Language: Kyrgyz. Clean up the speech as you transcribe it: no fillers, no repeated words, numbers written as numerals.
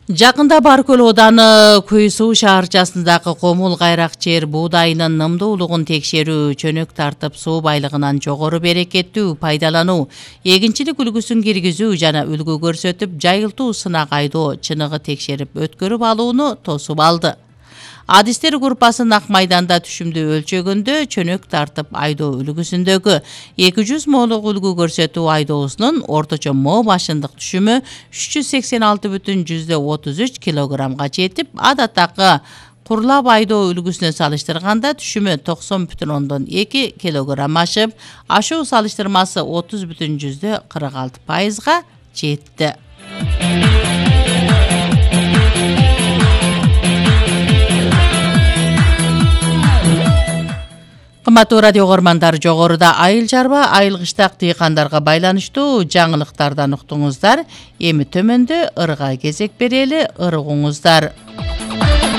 Жакында Баркөл ооданы Көй суу шаарчасындагы комул кайрак жер буудайынын нымдуулугун текшерүү, чөнөк тартып суу байлыгынан жогору берекеттүү пайдалануу, эгинчилик үлгүсүн киргизүү жана үлгү көрсөтүп жайылтуу сынак айдоо чыныгы текшерип өткөрүп алууну тосуп алды. Адистер группасын Ак майданда түшүмдү өлчөгөндө чөнөк тартып айдоо үлгүсүндөгү 200 молук үлгү көрсөтүү айдоосунун орточо мо башындык түшүмү 386,33 килограммга жетип, адаттагы курлап айдоо үлгүсүнө салыштырганда түшүмү 90,2 килограмм ашып, ашуу салыштырмасы 30,46%га жетти. Кымбаттуу радио угармандар, жогоруда айыл чарба, айыл кыштак дыйкандарга байланыштуу жаңылыктардан уктуңуздар. Эми төмөндө ырга кезек берели, ыргуңуздар.